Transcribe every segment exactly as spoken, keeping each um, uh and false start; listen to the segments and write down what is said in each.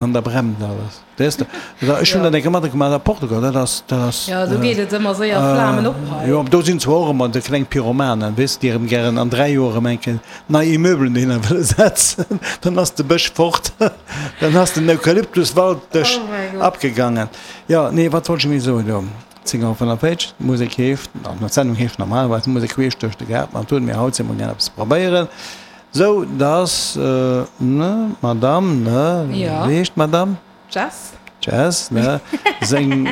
An da brennt alles. Weess de? Ech hunn dat eng Kéier matgemaach a Portugal, dat ass, dat ass. Jo, do geet et ëmmer séier Flamen op hei. Jo, do sinn zwar och ëmmer déi kleng Pyromanen, weess de, déi erëm gären an dräi Joer erëm eng Kéier nei Immeubelen dohinner wëlle setzen. Dann ass de Bësch fort, dann ass den Eukalyptuswald-Bësch abgegangen. Jo, nee, wat wollt ech méi soen do? Zéng Auer fënnefvéierzeg, d'Musek heescht, an d'Sendung heescht normalerweis Musek queesch duerch de Gaart, ma haut, mir haut si mer gär eppes probéieren. Sou, dass, ne, Madame, ne, wéi heescht d'Madame? Jess. Jess, ne, seng,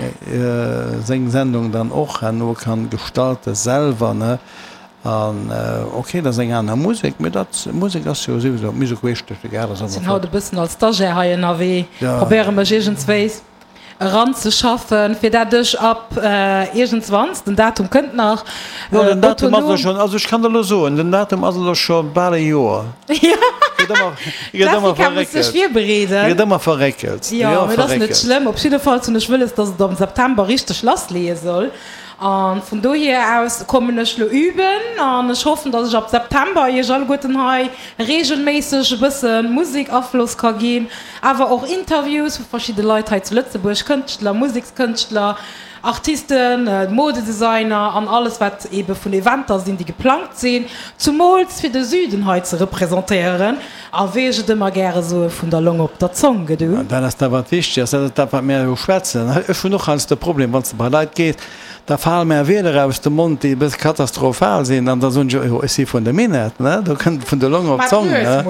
seng Sendung dann och herno kann gestalten selwer, ne, an ok, dat ass eng aner Musek, mee dat, Musek ass jo souwisou, Musek queesch duerch de Gaart ass ëmmer flott. Sinn haut e bëssen als Stagiaire hei ënnerwee, probéiere mech iergendswéis eranzeschaffen, fir dat ech ab iergendswanns, den Datum kënnt nach, Jo, den Datum ass elo schonn, also ech kann der elo soen, den Datum ass elo scho bal e Joer. Jo, d'Jessica muss sech virbereeden. Gëtt ëmmer verréckelt. Jo, mee dat ass net schlëmm. Op jiddefalls hunn ech wëlles, dass et am September richteg lassleeë soll. A vun dohier aus kommen ech lo üben an ech hoffen, dass ech ab September iech alleguerten hei reegelméisseg e bësse Musek-Afloss ka ginn, awer och Interviews vu verschidde Leit hei zu Lëtzebuerg, Kënschtler, Musekskënschtler, Artisten, Modedesigner an alles wat ebe vun Eventer sinn, déi geplangt sinn, zumools fir de Süden hei ze representéieren a wéi ech et ëmmer gäre soe vun der Long op der Zong, gedu. Dat ass dat wat wichteg ass, dat ass dat wat mär elo schwätzen. Ech hunn och heiansdo de Problem, wann s de bei Leit gees, Da fale mär Wierder aus dem Mond, déi e bësse katastrophal sinn, an da soen ech, jo, ech si vun der Minett, ne, do kënnt et vun der Long op d'Zong, ne.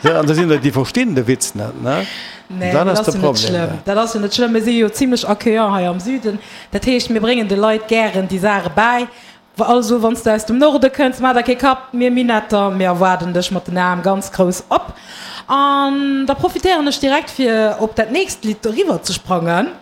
An da sinn der, déi verstinn de Witz net, ne. Nee, dat ass jo net schlëmm. Dat ass jo net schlëmm. Mir si jo zimlech accueillant hei am Süden. Dat heescht, mir bréngen de Leit gären déi Saache bäi. Also, wann s de aus dem Norde kënns, maach der kee Kapp, mir Minetter, mir erwaarden dech mat den Aarm ganz grouss op. An da profitéieren ech direkt, fir op dat nächst Lidd eriwwerzesprangen.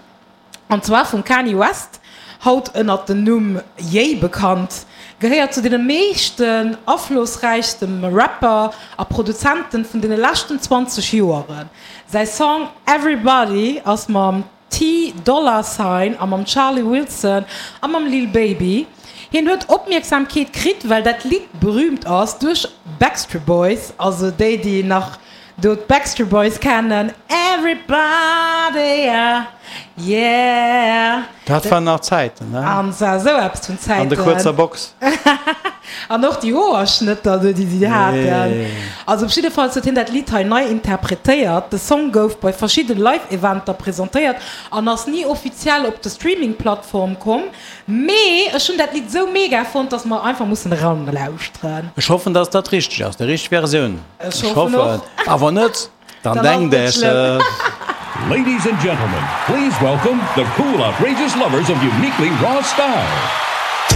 An zwar vum Kanye West, haut ënnert dem Numm Ye bekannt, gehéiert zu deene meeschten aflossräichste Rapper a Produzenten vun deene leschten zwanzeg Joeren. Säi Song Everybody ass mam Ty Dolla Sign a mam Charlie Wilson a mam Lil Baby. Hien huet Opmierksamkeet kritt, well dat Lidd berüümt ass duerch Backstreet Boys, also déi déi nach Do d'Backstreet Boys kennen Everybody, yeah, yeah. Dat waren nach Zäiten, ne? An zwar esou eppes vun Zäiten. An der kuerzer Box. An och déi Hoerschnëtter do, déi si haten. Also op jiddefalls huet hien dat Lidd hei nei interpretéiert. De Song gouf bei verschidde Live-Eventer presentéiert an ass ni offiziell op de Streaming-Plattform komm. Mee ech hunn dat Lidd esou mega fonnt, dass mer einfach mussen eranlauschteren. Ech hoffen, dass dat richteg ass, déi richteg Versioun. Ech hoffen och. A wann net, dann denkt Iech et. Ladies and gentlemen, please welcome the cool outrageous lovers of uniquely raw style,